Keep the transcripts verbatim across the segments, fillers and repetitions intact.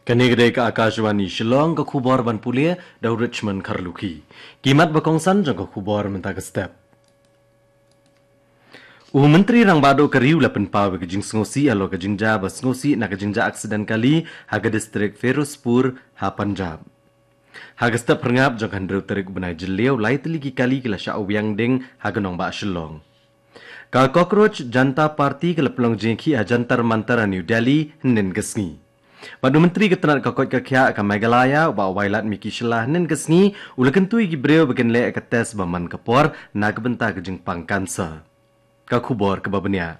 Kane ka dei ka Akashvani Shillong, ka khubor ban pule da u Richmond Kharlukhi. Ki mat ba kongsan jong ka khubor mynta ka step. U Myntri Rangbah Duh ka ri u la pynpaw ïa ka jingsngewsih halor ka jingjia ba sngewsih na ka jingjia aksiden kali ha ka distrik Firozpur ha Punjab. Ha ka step phyrngap jong ka hynriew tarik u bnai Jylliew, lai tylli ki kali ki la shah wiang ding ha ka nongbah Shillong. Ka Cockroach Janta Party ka la pynlong jingïakhih ha Jantar Mantar ha New Delhi hynnin ka sngi. Bad u Myntri ka tnat ka koit ka khiah ka Meghalaya, u Bah Wailadmiki Shylla, hynnin ka sngi u la kyntu ïa ki briew ba kin leh ka test ba man ka por na ka bynta ka jingpang cancer. Ka khubor kaba bniah.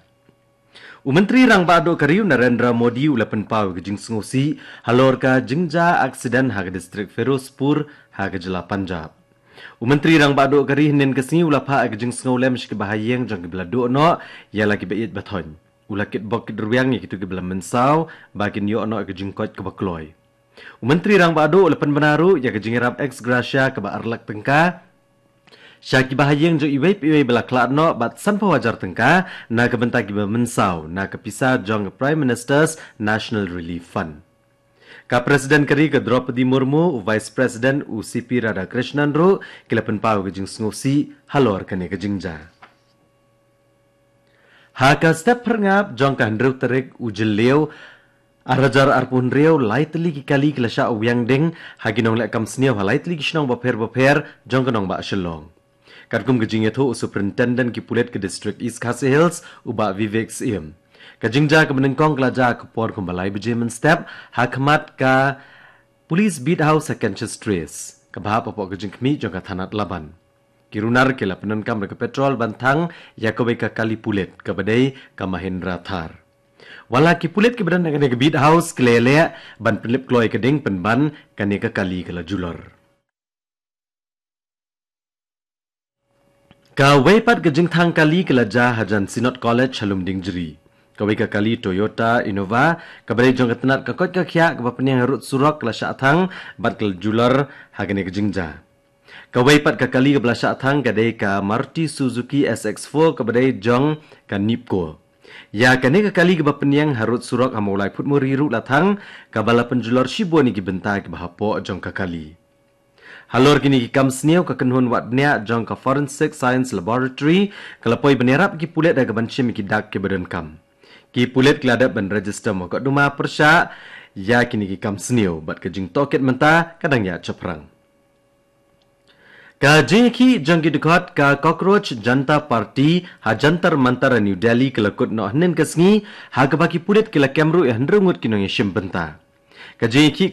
U Myntri Rangbah Duh ka ri u Narendra Modi u la pynpaw ïa ka jingsngewsih halor ka jingjia aksiden ha ka distrik Firozpur ha ka jylla Punjab. U Myntri Rangbah Duh ka ri hynnin ka sngi u la phah ïa ka jingsngewlem sha kiba ha ïing jong kiba la duh noh ïa la kiba ïeit ba thoiñ. U la kitbok kitrwiang ïa kito kiba la mynsaw ba kin ïoh noh ïa ka jingkoit kaba kloi. U Myntri Rangbah Duh u la pynbna ruh ïa ka jingïarap ex gratia kaba ar lak tyngka sha kiba ha ïing jong iwei pa iwei ba la khlad noh, bad sanphew hajar tyngka na ka bynta kiba mynsaw na ka pisa jong ka Prime Minister's National Relief Fund. Ka President ka ri ka Droupadi Murmu, u Vice President u C P Radhakrishnan ruh ki la pynpaw ïa ka jingsngewsih halor kane ka jingjia. Ha ka step phyrngap jong ka hynriew tarik u Jylliew, ar hajar arphew hynriew, lai tylli ki kali ki la shah wiang ding ha ki nongleh kam sniew ha lai tylli ki shnong bapher bapher jong ka nongbah Shillong. Katkum ka jingïathuh u Superintendent ki pulit ka District East Khasi Hills, u Bah Vivek Syiem. Ka jingjia kaba nyngkong ka la jia ha ka por kumba lai baje mynstep ha khmat ka Police Beat House ha Canchas Terrace, kaba hap hapoh ka jingkhmih jong ka thanat Laban. Ki runar ki la pyndonkam da ka petrol ban thang ïa kawei ka kali pulit kaba dei ka Mahindra Thar. Wat la ki pulit kiba don ha kane ka Beat House ki la ïaleh ban pynlip kloi ka ding pynban kane ka kali ka la julor. Kawei pat ka jingthang kali ka la jia hajan Synod College ha Lumdiengjri. Kawei ka kali Toyota Innova kaba dei jong ka tnat ka koit ka khiah kaba pynïang harud surok ka la shah thang bad ka la julor ha kane ka jingjia. Kawei pat ka kali kaba la shah thang ka dei ka Maruti Suzuki S X four kaba dei jong ka NEEPCO. Ïa kane ka kali kaba pynïang harud surok ha Mawlai Phutmuri ruh la thang, kaba la pynjulor shibun ïa ki bynta kiba hapoh jong ka kali. Halor kine ki kam sniew, ka kynhun wad bniah jong ka Forensic Science Laboratory ka la poi ban ïarap ki pulit ha kaban shim ïa ki dak kiba donkam. Ki pulit ki la dep ban register mukotduma pyrshah ïa kine ki kam sniew bad ka jingtohkit mynta ka dang ïaid shaphrang. Ka jingïakhih jong ki dkhot ka Cockroach Janta Party ha Jantar Mantar ha New Delhi ka la kut noh hynnin ka sngi, ha kaba ki pulit ki la kem ruh ïa hynriew ngut ki nongïashim bynta. Ka jingïakhih